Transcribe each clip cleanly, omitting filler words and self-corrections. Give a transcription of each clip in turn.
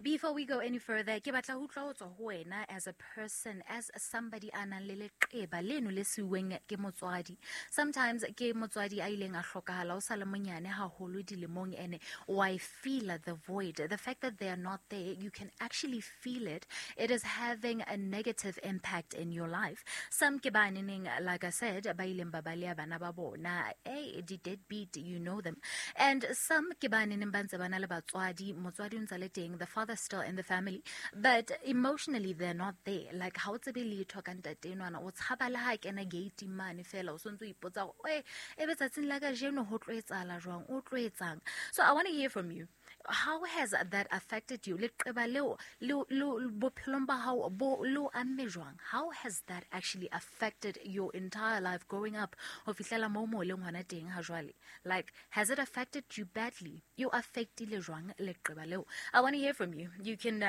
Before we go any further, ke batla ho utlwa ho tswa ho wena as a person, as somebody a nang le leqeba leno le siuweng ke motswadi. Sometimes ke motswadi a ileng a hlokahala o sa le monyane haholo dilemong, ene wa e feel the void. The fact that they are not there, you can actually feel it. It is having a negative impact in your life. Some ke ba neneng, like I said, ba ileng ba baleha bana ba bona. Hey, di deadbeat, you know them. And some ke ba neneng ba ntse ba na le batswadi, motswadi o ntse le teng, the father's still in the family, but emotionally they're not there. Like, ha o tsebe letho ka ntate enwana, o tshaba le ha kena gate mane fela, o sontse o ipotsa hore, "Oe, ebe tsatsing la kajeno ho tlo etsahala jwang, o tlo etsang?" So I want to hear from you. How has that affected you? Leqeba leo bophelong ba hao bo le o amme jwang? How has that actually affected your entire life growing up ho fihlela moo mo leng hona teng ha jwale? Like, has it affected you badly? You affectile jwang leqeba leo? I want to hear from you. You can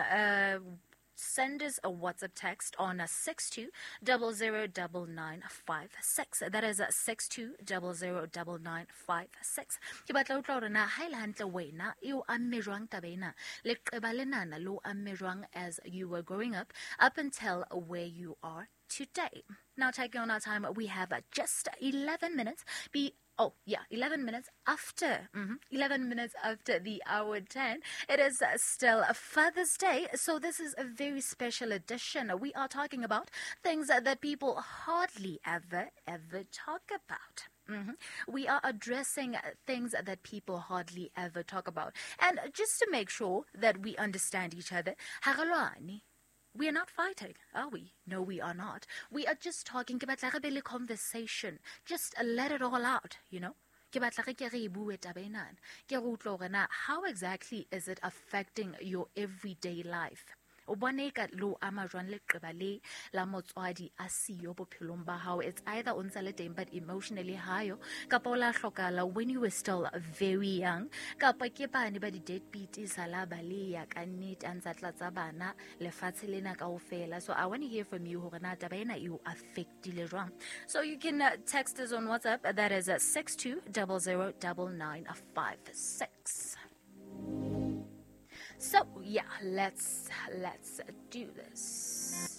send us a WhatsApp text on 62009956. That is 62009956. Ke batla ho utlwa hore na ha e le hantle wena e o amme jwang taba ena, leqeba lenana le o amme jwang as you were growing up up until where you are today. Now, taking on our time, we have just 11 minutes. Be Oh, yeah, 11 minutes after. 11 minutes after the hour 10. It is still Father's Day, so this is a very special edition. We are talking about things that people hardly ever, ever talk about. We are addressing things that people hardly ever talk about. And just to make sure that we understand each other, ha re lwane. We are not fighting, are we? No, we are not. We are just talking. Ke batla re be le conversation. Just let it all out, you know? Ke batla re ke re e bue taba enana. Ke re utlwe hore na how exactly is it affecting your everyday life? O bone eka le o ama jwang leqeba le la motswadi a siyo bophelong ba hao? It's either o ntse le teng but emotionally hayo, kapa o la hlokahala when you were still very young, kapa ke bane ba di-deadbeat e sala ba le ya ka nnete a ntsa tlatsa bana lefatshe lena kaofela. So I want to hear from you hore na taba ena e o affectile jwang. So you can text us on WhatsApp. That is 62009956. So yeah, let's do this.